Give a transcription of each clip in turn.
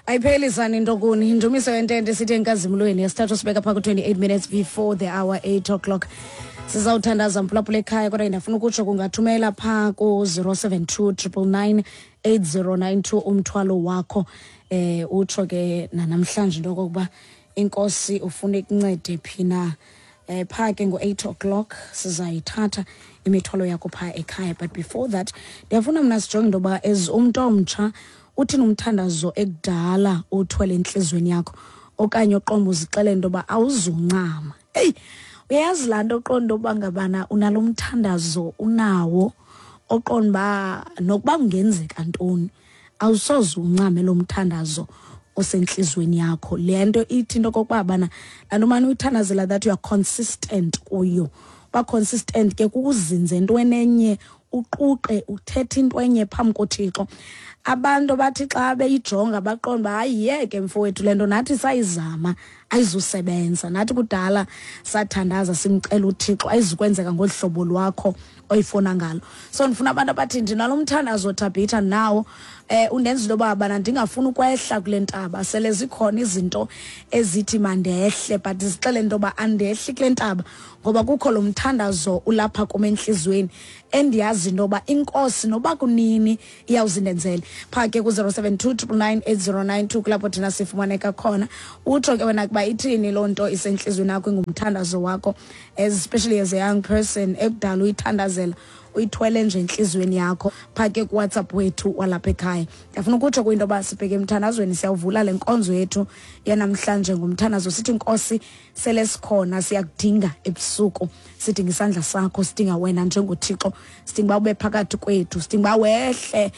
Ayiphelisani into kuni. Indumiso yentente sithi enkazimlweni yesithathu sibeka phaa ku-28 minutes before the hour 8 o'clock. Sizawuthandaza mphulaphula ekhaya, kodwa ndiyafuna ukutsho kungathumela phaa ku-072 999 8092 umthwalo wakho, utsho ke nanamhlanje into yokokuba inkosi ufuna ikuncede phi na. Phaa ke ngo-8 o'clock sizayithatha imithwalo yakho phaa ekhaya. But before that, ndiyafuna mna sijonge into yoba as umntu omtsha uthini umthandazo ekudala uthwele entliziyweni yakho, okanye uqomba uzixelele into yoba awuzuncama. Eyi, uyayazi laa nto oqonda uba ngabana unalo mthandazo unawo oqonda uba nokuba kungenzeka ntoni awusoze uncame lo mthandazo osentliziyweni yakho. Le nto ithi into okokuba bana laa nto umane uyithandazela, that you are consistent kuyo. Uba consistent ke kukuzinza entweni enye, uquqe uthethe into enye phambi koThixo. Abantu bathi xa beyijonga baqonda uba hayi yeke mfowethu, le nto nathi sayizama ayizusebenza, nathi kudala sathandaza simcela uThixo, ayizukwenzeka ngolu hlobo lwakho oyifuna ngalo. So ndifuna abantu abathi ndinalo mthandazo Thabitha nawo undenza into yoba bana ndingafuni ukwehla kule ntaba, sele zikhona izinto ezithi mandehle, but zixele into yoba andehli kule ntaba ngoba kukho lo mthandazo ulapha kum entliziyweni endiyazi into yoba inkosi noba kunini iyawuzindenzele. Phaa ke ku-072 999 8092 kulapho thina sifumaneka khona. Utsho ke wena kuba ithini loo nto isentliziyweni yakho ingumthandazo wakho, especially as a young person ekudala uyithandazela, uyithwele nje entliziyweni yakho. Phaa ke kuWhatsApp wethu walapha ekhaya, ndiyafuna ukutsho kuyinto yoba sibheke emthandazweni. Siyawuvula le nkonzo yethu yanamhlanje ngomthandazo, sithi Nkosi, sele sikhona, siyakudinga ebusuku, sidinga isandla sakho, sidinga wena njengoThixo, sidinga uba ube phakathi kwethu, sidinga uba wehle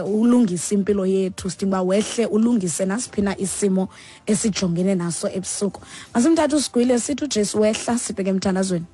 ulungise impilo yethu, sidinga uba wehle ulungise nasiphina isimo esijongene naso ebusuku. Masimthathe usigwile sithi uJesu wehla, sibheke emthandazweni.